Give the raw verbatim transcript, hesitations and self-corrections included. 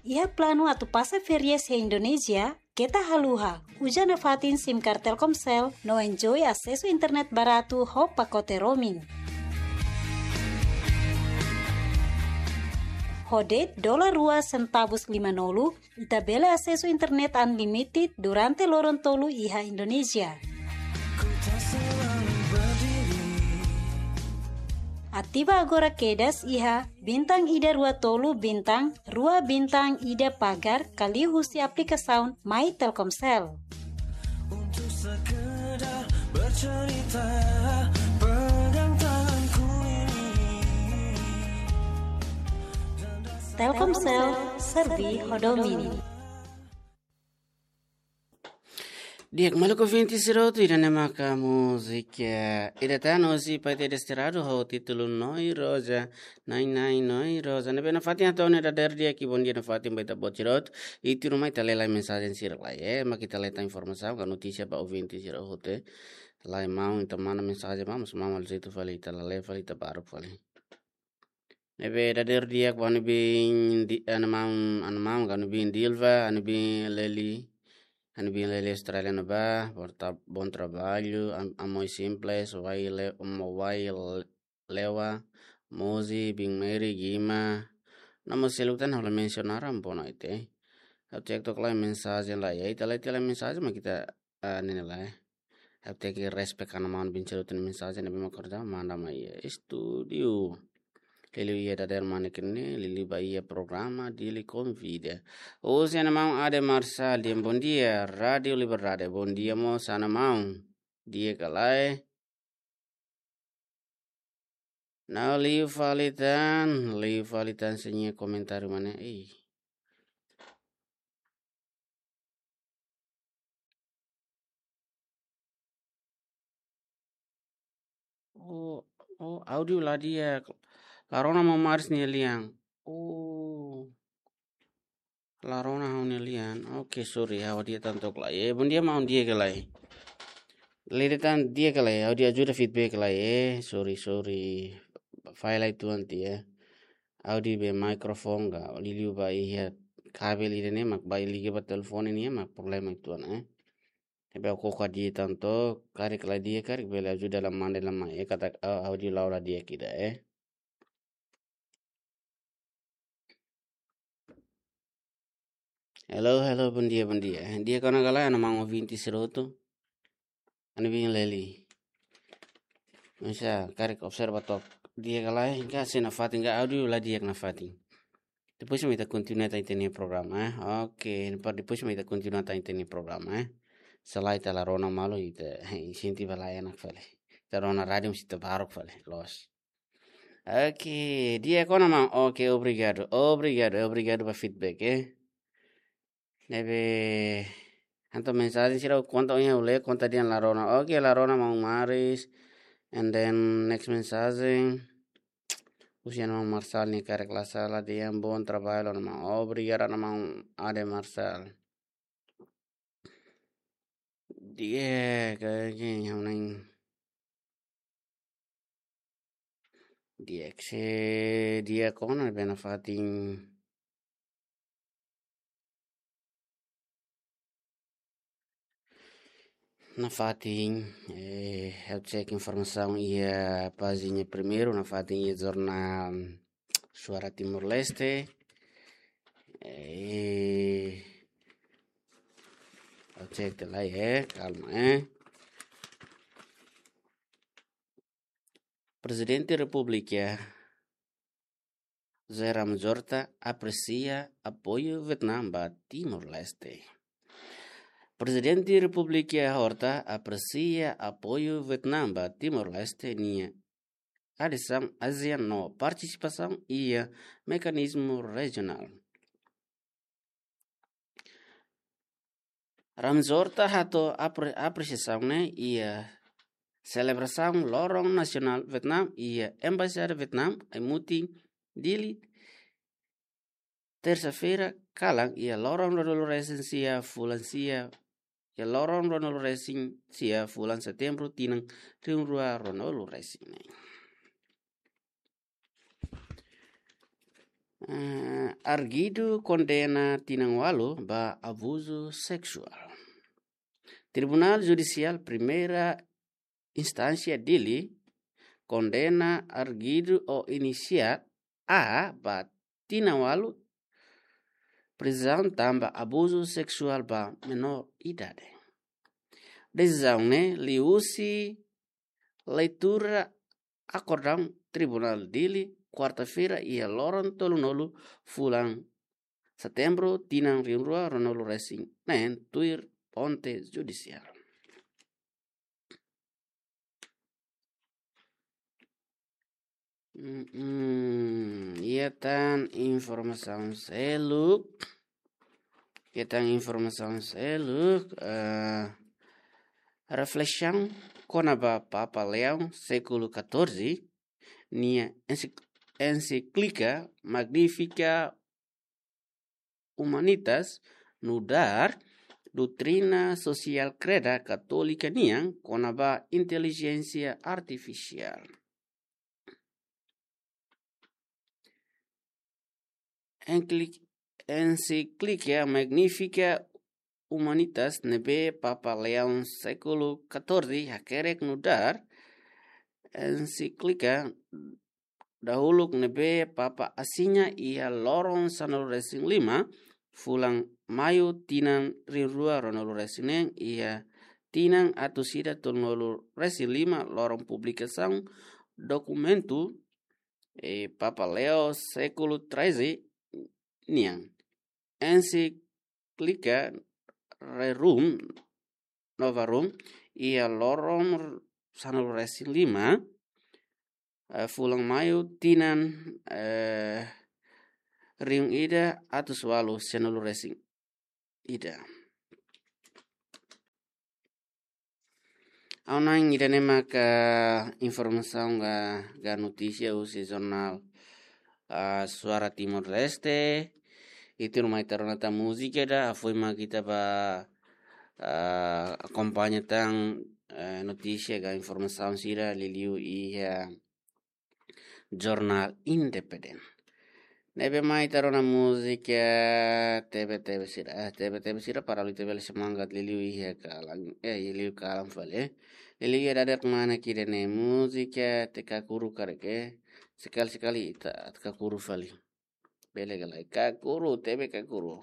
Iha planu atu pasa férias iha Indonézia, keta haluha, uza nafatin SIM card Telkomsel, no enjoy asesu internet baratu ho pakote roaming. Ho de'it dolar rua sentavus lima-nulu, ita bele asesu internet unlimited durante loron tolu iha Indonézia. Ativa agora kedas iha bintang ida rua tolu bintang rua bintang ida pagar ka liuhusi aplikasaun My Telkomsel. Untuk sekedar bercerita, pegang tanganku ini. Telkomsel, serbi ho domin. Di'ak, maluk ouvinte sira hotu, ida-ne'e maka múzika, eh, ida tan husi Paite Desterrado ho títulu Noi Rosa, Nai Nai Noi Rosa. Ne'ebé nafatin hato'o ona dadeer di'ak, bondia nafatin ba ita-boot sira hotu. I tuirmai ita lee lai mensajen sira lai, eh, mak ita lee tan informasaun ka notísia ba ouvinte sira hotu, eh. Lai maun ita manda mensajen ba, mas maun halo jeitu fali ita la lee fali ita baruk fali. Ne'ebé dadeer di'ak ba ha'u-nia biin di, ha'u-nia maun, ha'u-nia maun ka ha'u-nia biin Dilva, ha'u-nia biin Leli, ha'u-nia biin Leli Australia ne'ebá, bom tra-, bom trabalho, am-, Amoi Simples, Wai Le-, Mo Wai Le-, Lewa, Mozi, biin Mary, Gima, no mós seluk tan ha'u la mensiona rai, boa noite. Ha'u cek tok lai mensajen lai, ya, ita lai, ita lai mensajen, mak ita, ah, ne'e lai. Ha'u tenke respect ha'u-nia maun biin sira hotu nia mensajen, ne'ebé mak kerja manda mai iha estúdiu. Liuliu iha dadeer manik ne'e, liuliu ba iha programa Dili Konvida. Husi ha'u-nia maun Ade Marçal, dehan bondia, Rádio Liberdade. Bondia mós ha'u-nia maun. Di'ak ka lae? Nau liu fali tan, liu fali tan sira-nia komentáriu mak ne'e. Ei. Oh, oh, áudiu la di'ak. La rona maun Maris nia lian. Oh. La rona ha'u-nia lian. Oke, sorry, ha'u di'ak tan tok lai. Eh, bondia maun, di'ak ka lae? Lere tan di'ak ka lae? Ha'u di'ak ajuda feedback lai, eh. Sorry, sorry. Fai lai tuan tiha. Ha'u di'ak be mikrofone ka, liuliu ba iha kabel ida-ne'e mak ba liga ba telefone nian mak problema uitoan, eh. Ne'ebé ha'u koko di'ak tan tok, karik la di'ak, karik bele ajuda la manda la mai, eh, katak, ah, áudiu la'o la di'ak ida, eh. Hello, hello, bondia, bondia. Di'ak ona ka lae, ha'u-nia maun ouvinte sira hotu? Ha'u-nia biin Leli. Misa, karik observa tok. Di'ak ka lae, ka sei nafatin, ka áudiu la di'ak nafatin. Depois mak ita kontinua tan ita-nia programa, eh. Oke, para depois mak ita kontinua tan ita-nia programa, eh. Se lae ita la rona malu, ita, eh, sente ba la enak fali. Ita rona rádiu mós ita baruk fali, loos. Oke, di'ak ona maun. Oke, obrigadu. Obrigadu, obrigadu ba feedback, eh. Ne'ebé, entaun mensajen sira konta ohin ha'u lee, konta dehan la rona. Oke, la rona maun Maris. And then next mensajen. Husi ha'u-nia maun Marçal nia karik la sala dehan bom trabalho, ha'u-nia maun. Obrigadu, ha'u-nia maun Ade Marçal. Di'ak, kayak gini, ha'u neng. Di'ak se, di'ak ona be nafatin. Nafatin, eh, ha'u cek informasaun iha pájina primeiru, nafatin iha jornál Suara Timor-Leste. Eh, ha'u cek tiha lai, eh, kalma, eh. Prezidente Repúblika José Ramos Horta apresia apoiu Vietnam ba Timor-Leste. Prezidente Repúblika Horta apresia apoiu Vietnam ba Timor-Leste nia adesaun ASEAN no partisipasaun iha mekanizmu rejionál. Ramos Horta hato'o apre-, apresiasaun ne'e iha selebrasaun Loron Nasionál Vietnam iha Embaixada Vietnam, Ai Mutin, Dili, tersa-feira kalan iha loron ruanulu-resin-sia fulan sia, iha loron ruanulu-resin-sia fulan Setembru tinan rihun rua ruanulu-resin-neen. Eh, arguidu kondena tinan ualu ba abuzu seksuál. Tribunál Judisiál Primeira Instánsia Dili kondena arguidu ou inisiál A ba tinan ualu prizaun tanba abuzu seksuál ba menór idade. Desizaun ne'e liuhusi leitura akordaun Tribunál Dili, kuarta-feira iha loron tolunulu fulan Setembru tinan rihun rua ruanulu resin neen, tuir fonte judisiál. Mm, mm, iha tan informasaun seluk. Iha tan informasaun seluk, eh, reflesaun kona-ba Papa Leão século catorze, nia ensik-, encíclica Magnifica Humanitas nu'udar doutrina sosiál kreda katólika nian kona-ba intelijénsia artifisiál. Encícli-, encíclica Magnifica Humanitas ne'ebé Papa Leão século catorze hakerek nu'udar encíclica dahuluk ne'ebé Papa asina iha loron sanulu resin lima fulan Maiu tinan rihun rua ruanulu resin neen, iha tinan atus ida tolunulu resin lima loron publikasaun dokumentu, eh, Papa Leão século treze nian. Encíclica Rerum Novarum iha loron sanulu resin lima, eh, fulan Maiu tinan, eh, rihun ida atus ualu sianulu resin ida. Ha'u hanoin ida-ne'e maka informasaun ka, ka notísia husi jornál, ah, Suara Timor-Leste. Ita ruma ita rona tan múzika ida, hafoin mak ita bá, ah, akompaña tan, eh, notísia ka informasaun sira liuliu iha jornál independente. Ne'ebé mai ita rona múzika tebe-tebe sira, eh, tebe-tebe sira para ita bele semangat liuliu iha kalan, eh, liuliu kalan fali, eh. Liuliu iha dadeer-rua ne'e ida-ne'e múzika te kakuru karik, eh. Sekali-sekali ita kakuru fali. Bele ka lae kakuru, tebe kakuru.